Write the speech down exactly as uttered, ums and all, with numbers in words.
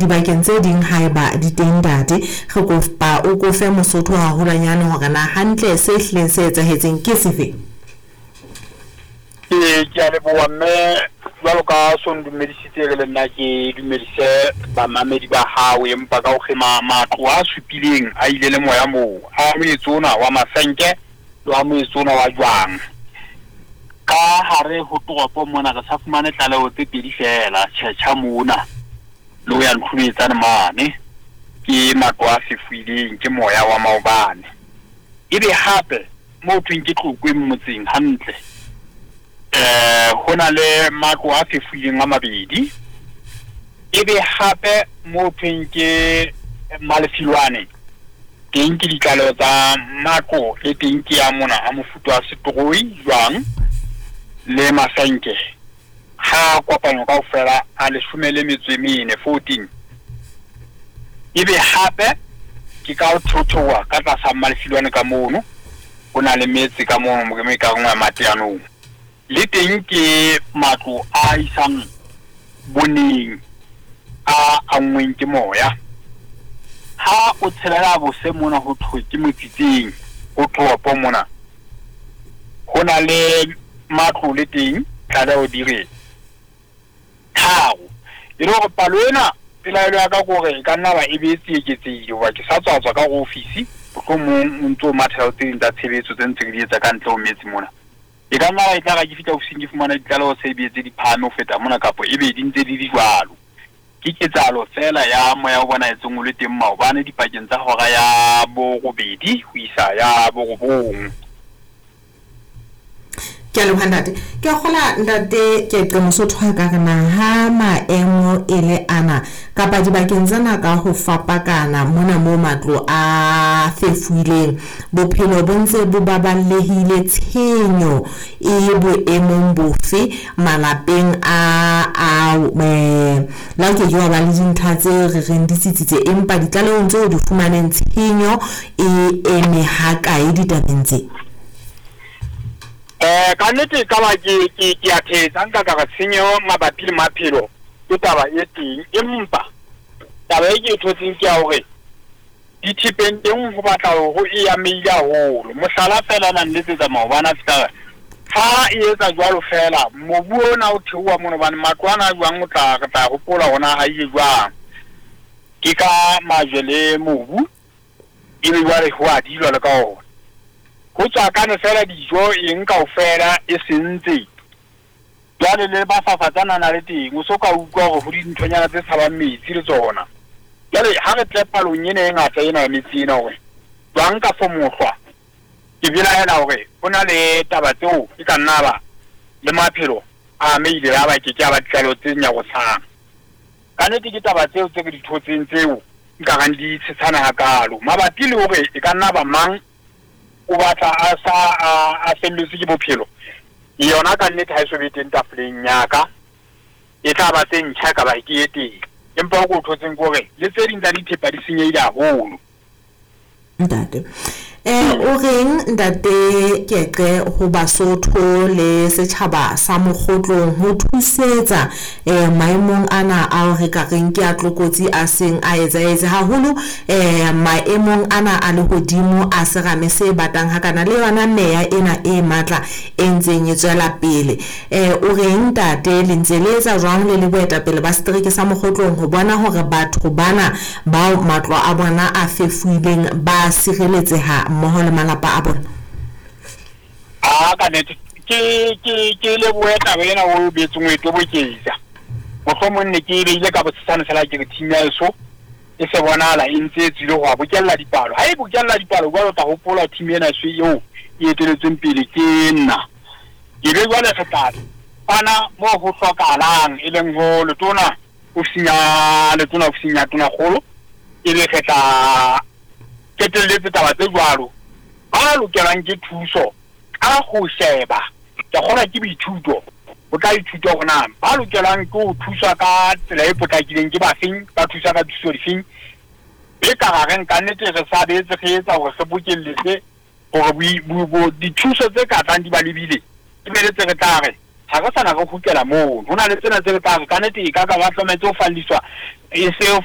dibakeng tse ding haeba di teng ntate. Re kopa o ko fe Mosotho haholwanyane hore na hantle se hlileng se etsahetseng ke sefe. Ee, ke a leboha mme jwalo ka so ndumedisitse re le nna ke dumedise bamamedi ba hao, empa ka ho kgema matlo a supileng a ile le moya moo, a moetse ona wa masenke le wa moetse ona wa jwang. Ka hare ho toropo mona re sa fumane tlaleho tse pedi feela, tjhetjha mona le ho ya Ntlhubetsane mane ke matlo a fefuileng ke moya wa maobane. Ebe hape mo thweng ke Tlokweng motseng hantle, eh ho na le matlo a fefuileng a mabedi. Ebe hape mo thweng ke Malefilwane teng ke ditlaleho tsa matlo le teng ke ya mona a mofuta wa setroi jwang le masenke, ha kopano kaofela a leshome le metso e mene, fourteen. Ebe hape ke ka ho thothoha ka tlasa Malefilwane ka mono, ho na le metse ka mono mo ke ka nngwe mateanong, le teng ke matlo a isang boneng a anngweng ke moya. Ha o tshelela bose mona ho thwe ke motsitseng ho toropo mona, ho na le matlo le teng tlaleho di re tharo. E le hore palo ena pelaelo ya ka ke hore e ka nna ba e be e eketsehile, hoba ke sa tswa tswa ka hare ofisi, mohlomong o ntso mathela tse ding tsa tshebetso tse ntse re di etsa ka ntle ho metse mona. E ka nna ba e tla ra ke fihla ofising ke fumana ditlaleho se be tse di phahame ho feta mona, kapa e be di ntse di le jwalo. Ke ketsahalo feela ya moya o bonahetseng o le teng maobane dipakeng tsa hora ya borobedi ho isa ya borobong. Ke a leboha ntate. Ke a kgola ntate Keqe Mosotho a ka re na ha maemo e le ana kapa dibakeng tsena ka ho fapakana mona moo matlo a fefuileng, bophelo bo ntse bo baballehile, tshenyo e boemong bofe malapeng a ao? Eh, le ha o ke ke wa ba le dintlha tse re reng di tsitsitse, empa ditlalehong tseo di fumaneng tshenyo e eme ha kae ditabeng tse? Eh, ka nnete ka ba ke ke ke a thetsa nka ka re tshenyo mabapi le maphelo ke taba e teng, empa taba e ke e thotseng ke ya hore dithepeng teng ho batla hore e amehile haholo. Mohlala feela na nletsetsa maobane a fihla ha e etsa jwalo feela, mobu ona o theoha mono hobane matlo ana a jwang o tla re tla hopola hore na ha ile jwang, ke ka majwe le mobu, ebe jwale ho a dilwa le ka ona. Ho tswakane feela dijo eng kaofela e sentse. Jwale le bafafatsana na le teng, o so ka utlwa hore ho dinthonyana tse tshabang metsi le tsona. Jwale ha re tle palong ena e ngata ena ya metsi ena hore jwang ka fo mohlwa, ke belaela hore ho na le taba tseo e ka nna ba le maphelo a amehile a ba ke ke a ba ditlaleho tse nyarosang. Ka nnete ke taba tseo tse re di thotseng tseo nka reng di tshetshana hakalo mabapi le hore e ka nna ba mang o batla a sa a, a felletswe ke bophelo. Yona ka nnete ha e so be teng tafoleng ya ka, e tla ba tse ntjha ka ba ke e teng, empa ho ko thotseng ke hore le tse ding tsa dithepa di senyehile haholo. Ntate, eh o reng ntate Keqe ho Basotho le setjhaba sa Mokgotlong ho thusetsa eh maemong ana ao re ka reng ke a tlokotsi a seng a etsahetse haholo, eh maemong ana a lehodimo a serame se batang hakana le yona meya ena e matla e ntseng e tswela pele? Eh o reng ntate, le ntse le etsa jwang le le boetapele ba setereke sa Mokgotlong ho bona hore batho bana bao matlo a bona a fefuileng ba sireletseha mmoho le malapa a bona? A ka nnete ke ke ke lebohe taba ena o betseng o e toboketsa. Mohlomong ne ke e beile ka bosesane fela ke re team ya heso e se bonahala e ntse e tswile ho a bokella dipalo. Ha e bokella dipalo jwalo o tla hopola team ena so eo e eteletsweng pele ke nna. Ke be jwale re tla fana moo ho hlokahalang, e leng ho letona ofising ya letona ofising ya tonakgolo, e be re tla qetelletse taba tse jwalo. Ba lokelwang ke thuso ka ho sheba, ke kgolwa ke boithuto, o tla ithuta hore na ba lokelwang ke ho thuswa ka tsela e potlakileng ke bafeng, ba thuswa ka thuso difeng. E ka ra reng ka nnete re sa betse re etsa hore re bokelletse hore boi-, bo-, bo-, dithuso tse ka tlang di ba lebile, e be le tse re tla re ha re sana re kgutlela mono. Ho na le tsena tse re tla re ka nnete e ka ka ba hlometse ho falliswa, e se ho